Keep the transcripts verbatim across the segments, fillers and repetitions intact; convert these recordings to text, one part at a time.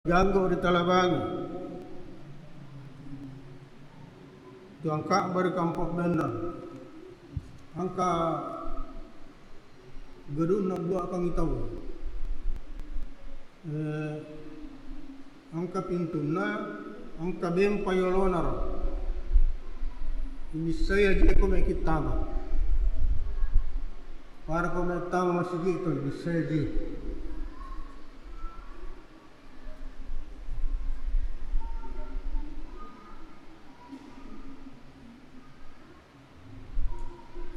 Ganggu ri Talabangi. Tuang Ka'bah ri Kampong Bennang. Engka gedung nabbuakangngi tau. Eh, engka pintunna, engka bempa yolona ro. Ibissai aje ko meloki tama. Pada ko meloki tama masigi to, ibissai aje.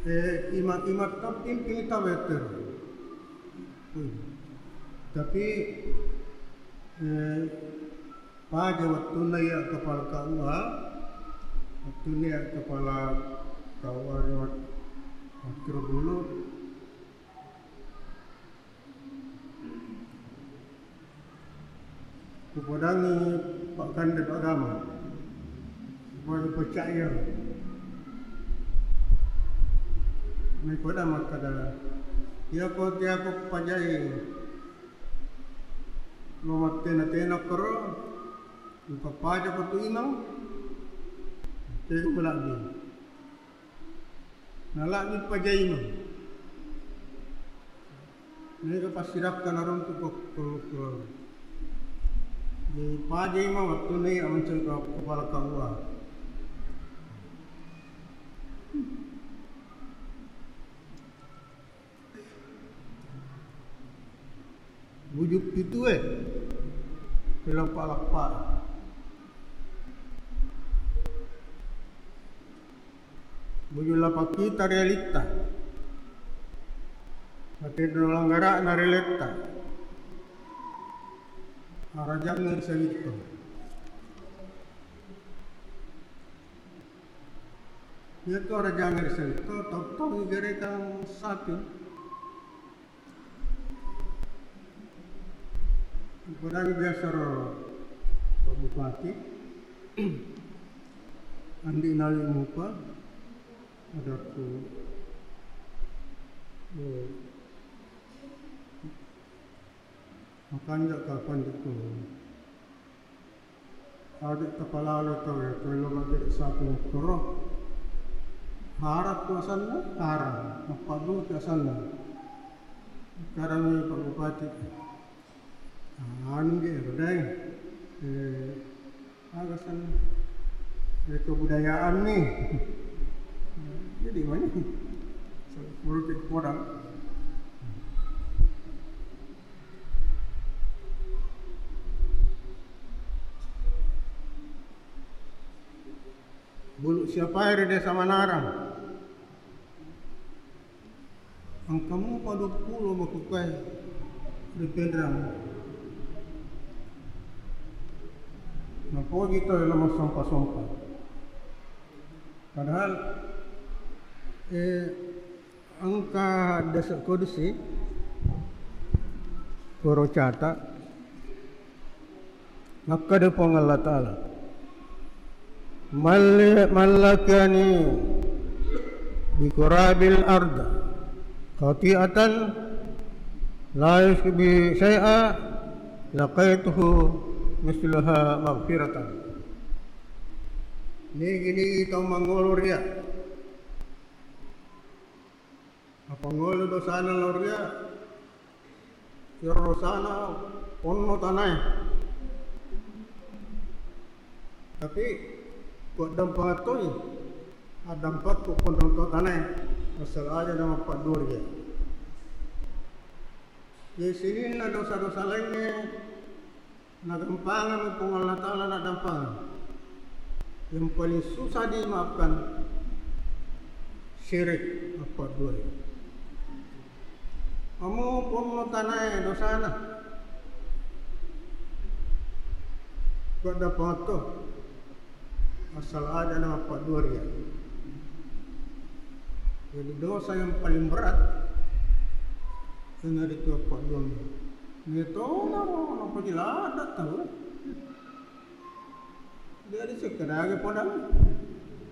Eh, ima-, imang tapping tau wettero. Tapi, eh, paja wettunna iya kepala K U A, wettunna iya kepala K U A ri Mak-, Makkiro dulu. Kupodangi Pak Kande Pak Gama, supaya percaya. Mai pada makkada, iya ko tiako pajai lo mattena-tena koro, upapaja ko tu imang, tega melabbi. Nalabbi pajaina. Mega passirakka naruntu ko, ko, ko. Jadi pajaima wettunna iya mancaji ke-, kepala K U A. Buju pitue, leppa-leppa. Buju lapakita ri alitta. Matenro langgara'na ri aletta. Arajanna ri sawitto. Iya tu arajanna ri sawitto, tau-tau igerekang sapi. Padahal biasa ro Pak Bupati, Andi Nawi Mupa, adakku, eh, makanja kapan ditu. Adeq tapalalo tauwe, ko elo maggere sapi makkoro. Haram tu asanna, haram. Mappaddua tu asanna. Karami Pak Bupati. Anu je, ero dai. Eh, aga asanna? Eh, kebudayaan nih. Jadi mana? Menurut kodang. Bulu siapae ri Desa Manarang. Engka mupa duappulo makkukkuae ri Penrang. Napoji tauwe lo massompa-sompa. Padahal, eh, Engka hadis kudusi, koro cata, makkeda Puang Allah Ta'ala, "Malli-, mallakani bi qurabil ard khati'atan la yusyriku bi syai'a, laqitu mislaha maghfiratan." Nigi-nigi tau mangolo ria, Mapangolo dosana lao ria, iyaro dosana ponno tanae. Tapi kuaddampengeng toi, addampekku ponno to tanae, asal aja namappaddua ria. Jadi sininna dosa-dosa laingnge, Nagampangang Puang Allah Ta'ala, naddampengeng. Yang paling susah dimaafkan, syirik, mappaddua. Amo ponno tanae dosana, kuaddampengeng to. Asal aja namappaddua ria. Jadi dosa yang paling berat, iyanaritu appadduangnge. Metona ro, napajilada tau. Jadi sekedar podang.